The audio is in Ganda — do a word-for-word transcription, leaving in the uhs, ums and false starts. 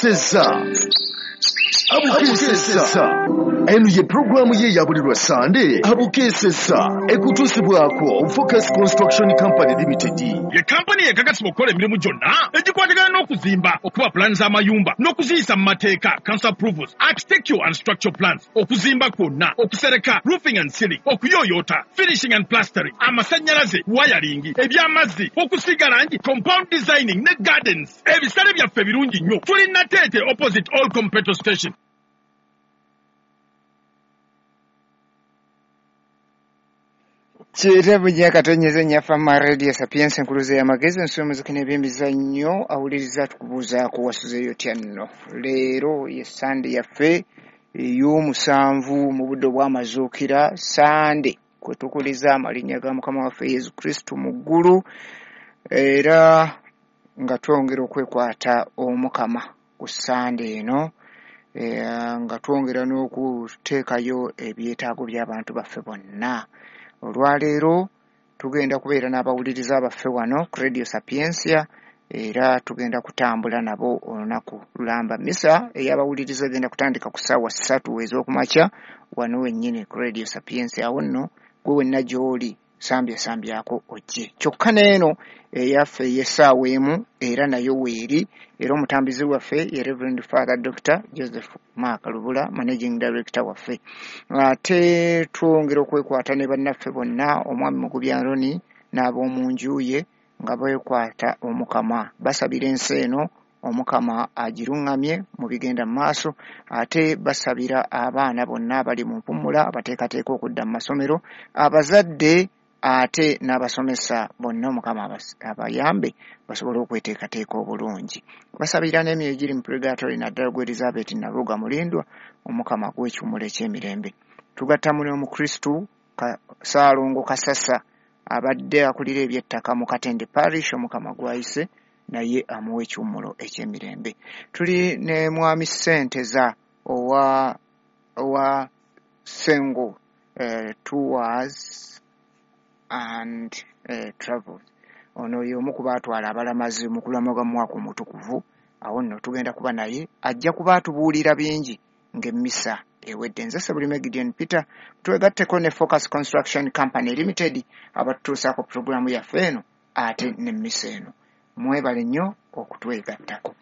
Seza Abukesesa. Eno ye programu ye ya buli lwa Sande Abukesesa ekutuusibwako Focus Construction Company Limited. Ye kampani ekakasibwa okukola emirimu gyonna egikwatagana n'okuzimba, okuba pulaani z'amayumba n'okuziyisa mu mateeka, council approvals, architectural and structural plans, okuzimba kwonna, okusereka, roofing and ceiling, okuyooyoota, finishing and plastering, amasannyalaze, wiring, eby'amazzi, okusiiga langi, compound designing ne gardens. Ebisale byaffe birungi nnyo. Tuli Nateete opposite all petrol station. Kitabu gyakatonyeze Nyafama Radio Sapientia enkuluze y'amagezi ensi y'omuziki n'ebyemizannyo awuliriza tukubuuzaako wasuzeeyo otya nno. Leero ye Sande yaffe ey'omusanvu mu budde obw'amazuukira, Sande kwe tukuliza amalinnya ga Mukama waffe Yesu Kristo mu ggulu, era nga twongera okwekwata Omukama ku Sande eno, nga twongera n'okuteekayo ebyetaago by'abantu baffe bonna. Olwaleero tugenda kubeera n'abawuliriza baffe wano ku Radio Sapientia, era tugenda kutambula nabo olunaku lulamba. Misa ey'abawuliriza egenda kutandika ku ssaawa ssatu ez'okumakya wano wennyini ku Radio Sapientia. Awo nno gwe wenna gy'oli sambya sambyako ojje. Kyokka n'eno eyaffe ey'essaawa emu era nayo weeri, era omutambizi waffe ye Reverend Father Doctor Joseph Mark Lubula, Managing Director waffe. Ate twongera okwekwata ne bannaffe bonna, omwami Mugubi Aroni n'ab'omu nju ye nga beekwata Omukama, basabira ensi eno Omukama agiruŋŋamye mu bigenda mu maaso, ate basabira abaana bonna abali mu mpumula abateekateeka okudda mu masomero, abazadde ate n'abasomesa bonna Omukama abayambe basobole okweteekateeka obulungi. Basabira n'emyoyo egiri mu purgatory naddala gwe Elizabeth Naluga Mulindwa, Omukama aguwe ekiwummulo eky'emirembe. Tugattamu n'Omukristu Ssaalongo Kasasa abadde akulira ebyettaka mu Katende Parish, Omukama gw'ayise naye amuwa ekiwummulo eky'emirembe. Tuli ne Mwami Ssenteza owa owa Sengo eh, Tours and eh, Travels. Ono y'omu ku baatwala abalamazi mu kulamaga mu mwaka omutukuvu. Awo nno tugenda kuba naye, ajja kuba atubuulira bingi ng'emmisa ewedde. Nze Ssebulime Gideon Peter, twegatteko ne Focus Construction Company Limited abatutuusaako pulogulaamu yaffe eno ate n'emmisa eno. Mwebale nnyo okutwegattako.